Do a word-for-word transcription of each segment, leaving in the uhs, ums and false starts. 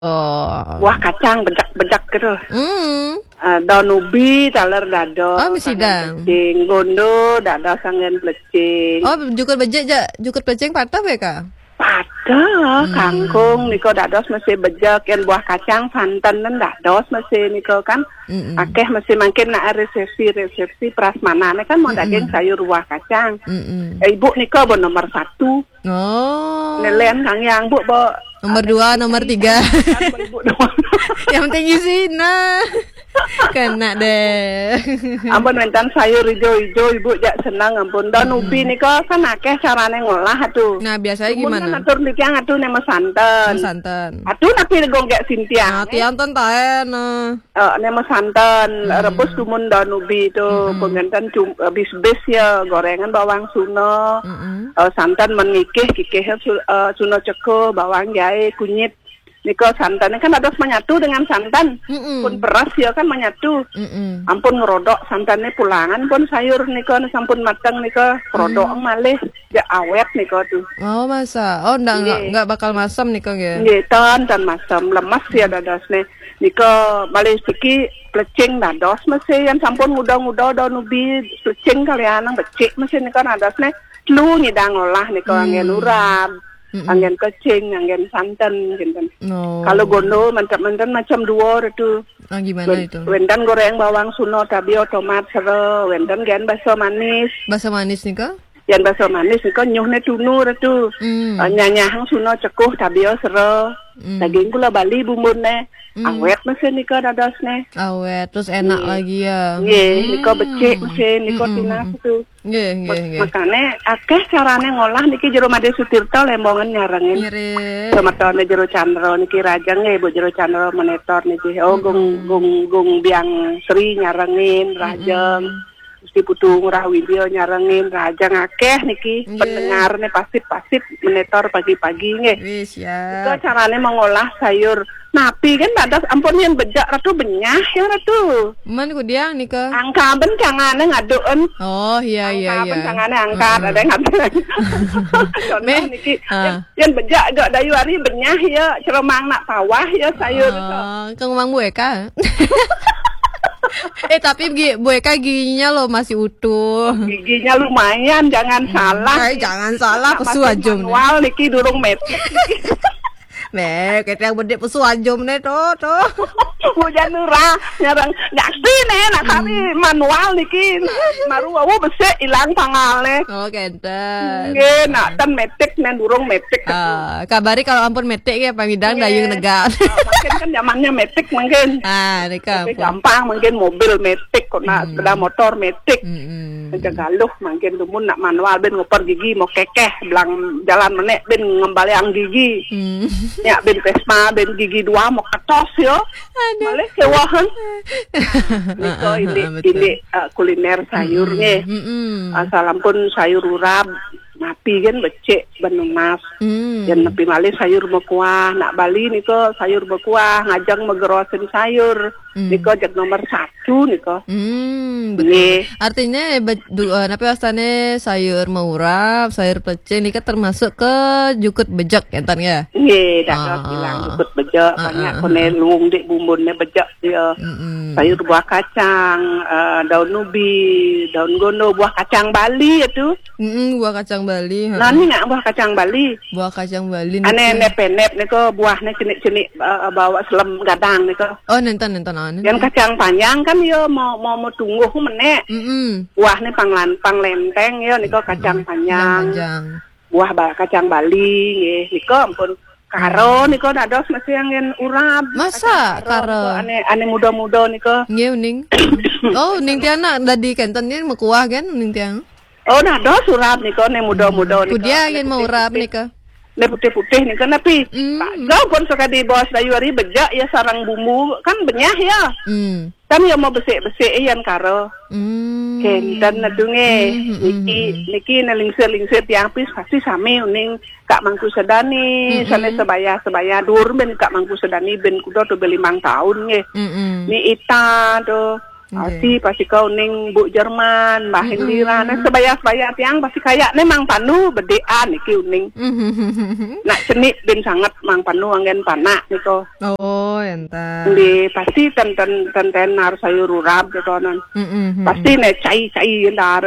Oh. Buah kacang bejak-bejak gitu. Hmm. Uh, daun ubi taler dados. Oh, mesti dang. Plecing, gondo dados anggen plecing. Oh, jukut bejek ja, jukut plecing patah ya, Kak? Patah, hmm. Kangkung niko dados mesti bejek, yang buah kacang santan dados mesti niko kan. Mm-mm. Akeh mesti mangkin nak resepsi-resepsi prasmanane kan mau hmm, daging sayur buah kacang. Mm-mm. Eh, ibu niko bo nomor satu. Oh. Nelen kang yang bu bo. Nomor dua, nomor tiga. Yang penting isi nah. Kena deh. Ampun, wénten sayur ijo-ijo, Ibu, jak seneng, ampun. Daun ubi nika kan akeh carane ngolah atuh. Nah, biasanya gimana? Kan atur niki yang atuh nemo santen. Santen. Atuh napi gonggek sintiang. Nah, tiang ten taen. Eh, nemo santen, rebus dumun daun ubi itu, penganten cum- eh, bis-bis ya, gorengan bawang suno. Eh, santen menikih, kikih su- eh, suno ceko, bawang jahe, kunyit. Nika santannya kan ada menyatu dengan santan. Mm-mm. Pun beras ya kan menyatu. Mm-mm. Ampun ngerodok santannya pulangan pun sayur nika sampun mateng nika rodok malih ya awet nika tuh. Oh, masa? Oh, ndak, nggak, nggak bakal masam nika nggih? Nggih, tan, tan masam. Lemes ya dadosne. Nika malih siki plecing dados mesti yang sampun nguda-nguda daun ubi plecing kalian becik mesti nika dadosne. Lu nyidang olah nika anggen urap. Mm-mm. Anggen kecing, anggen santen, gitu. Oh. Kalau gondo mantap-mantap macam dua itu. Ah, gimana itu? Wénten goreng bawang suno, tabio, tomat, sero, wénten gen baso manis. Baso manis nika? Yang baso manis nika nyuhne tunu itu. Hmm. Eh, nyanyahang suno cekuh, tabio, sero. Hmm. Daging gula Bali bumbune. Hmm. Awet mesti nika dadosne. Awet, terus enak lagi ya. Nggih, nika becik mesti nika tunas itu. Nggih, nggih, nggih. Makane akeh carane ngolah niki jero Made Sutirta Lembongan nyarengin. Ngirit. Semetone jero Candra niki rajeng nggih, Bu, jero Candra monitor niki. Oh, gung gung gung biang Sri nyarengin rajeng. Gusti Putu Ngurah Widya nyarengin rajeng akeh niki. Nggih. Pendengarne pasif-pasif monitor pagi-pagi nggih. Wis ya. Itu carane mengolah sayur. Napi kan dados ampun yang bejak Ratu benyah ya Ratu. Men kudiang nika. Angka ben cangane ngaduken. Oh, iya, iya, iya. Angka ben cangane angkat ada yang ngaduken. Contoh niki, yang, yang bejak gak dayu hari benyah ya, ceremang nak pawah ya sayur itu. Oh, kang Mang Bu Eka. Eh, tapi Bu Eka giginya loh masih utuh. Giginya lumayan, jangan salah. Eh, jangan salah, pesu aja. Manual niki durung metik. Nih, kita yang bedik pesu aja nih tuh, tuh. Hujan nurah, nyarang. Nyaksi nih, nak kami manual niki. Maru wau besik ilang tangale. Oh, kenten. Nggih, nak ten metik nih, durung metik. Ah, kabari kalau ampun metik ya, pamidang dayung negak. Ah, mungkin kan zamannya metik mungkin. Ah, nika. Tapi gampang mungkin mobil metik, kok nak sepeda motor metik. Aja galuh mungkin dumun nak manual ben ngoper gigi mau kekeh belang jalan menek ben ngembaliang gigi. Hmm. Ya ben pesma ben gigi dua mau ketos yo. Aduh. Malih kewahan. Nika ini ini uh, kuliner sayur nggih. Asal ampun sayur urap, napi kan becik benunas. Hmm. Yang napi malih sayur mekuah, nak Bali nika sayur mekuah, ngajeng megerosin sayur. Hmm. Nika jeg nomor satu nika. Hmm, betul. Nggih. Artinya be- du- eh, napi wastane sayur maurap, sayur plecing nika termasuk ke jukut bejek enten ya? Nggih, dados bilang jukut bejek, banyak kone luung dik bumbunnya bejek dia. Mm-mm. Sayur buah kacang, eh, daun ubi, daun gondo, buah kacang Bali itu. Mm-mm, buah kacang Bali. Nah, ini nak buah kacang Bali. Buah kacang Bali. Ane niki. Nep-nep niko buahnya cenik-cenik, eh, bawa selem gadang niko. Oh, nenten nenten anu. Yang kacang panjang kan yo mau mau mau tungguh menek. Mm-mm. Buahnya panglan panglenteng yo niko kacang panjang. Kacang panjang. Buah ba- kacang Bali nggih. Niko ampun karo niko dados mesti angin urap. Masa karo? Karo? Niko ane ane muda-muda niko. Nggih uning. Oh, uning tiang nak dadi kenten ni mekuah kan uning tiang. Oh, nah, dos urap nika ne muda-muda nika. Kudia yen mau urap nika. Ne putih-putih nika napi? Hmm. Tak jauh pun sekali bos dayu hari bejak ya sarang bumbu kan benyah ya. Hmm. Kan ya mau besik-besik yan karo. Hmm. Kenten nadunge. Hmm, hmm, niki hmm. Niki ne lingsir-lingsir tiang pis pasti sami uning Kak Mangku Sedani, hmm, sana hmm. Sebaya-sebaya dur ben Kak Mangku Sedani ben kuda tu belimang tahun nge. Hmm, hmm. Ni ita tu Pasti, pasti kau ning Bu Jerman, Mbah Indira, nah, sebaya-sebaya tiang pasti kaya ne Mang Panu bedean iki uning. Nak cenik bin sanget Mang Panu anggen panak niko. Oh, enten. Di pasti ten ten ten ten harus sayur urap gitu non. Pasti ne cai-cai entar.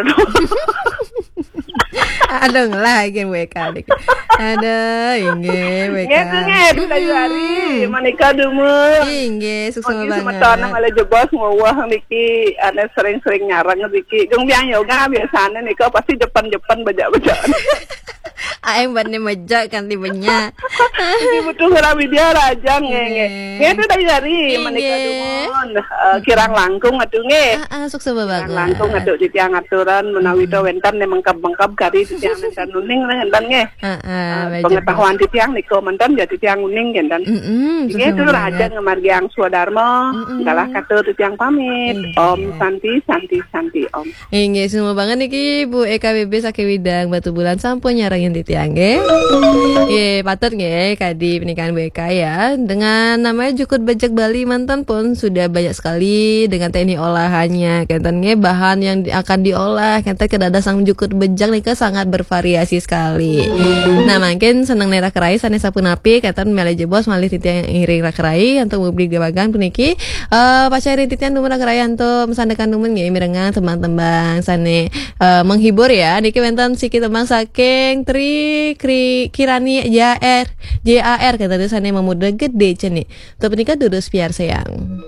Aduh, ngelah lagi W K nih. Aduh, inggih, W K. Nggih, nggih, aduh, dari hari. Manika dumun. Inggih, suksma Pagi banget. Semeton malah jebos ngowah niki, ane sering-sering nyareng niki. Jung biang yoga biasane nika pasti jepen-jepen bejak-bejak. Aeng bane mejak kanti benya. Ini butuh ngerabi dia raja nggih nggih. Nggih, itu dari hari. Manika Inggih. Dumun. Eh, kirang langkung atuh nggih. Ah, ah, suksma banget. Langkung atuh titiang aturan menawi to wenten ne mengkeb-mengkeb kari titiang nenten uning nenten nggih. Ah, ah, baik. Pengetahuan titiang nika menten ya titiang uning nggih nenten. Mm-mm, Nggih, suksma itu raja banget. Ngamargiang swadarma. Galah katur titiang pamit. Inggih. Om Santi, Santi, Santi, Om. Inggih, suksma banget niki Bu Eka B B saking Widang Batubulan sampun nyarengin titiang nggih. Nggih, patut nggih kadi pernikahan Bu Eka ya. Dengan namanya jukut bejek Bali manten pun sudah banyak sekali dengan teknik olahannya. Kenten nggih bahan yang di- akan diolah, kenten kedadah sang jukut bejek nika sangat bervariasi sekali. Nah, mungkin seneng ne raka rai sane sapunapi kenten malih jebos malih titiang iring raka rai antuk mubli gabagan puniki. Eh, pacarin titiang dumun raka rai antuk masandekan dumun nggih mirengang tembang-tembang sane eh, menghibur ya. Niki wenten siki tembang saking Tri Kri, Kirani J A R, J A R kenten sane memudra gede cenik. Untuk punika durus piarsayang.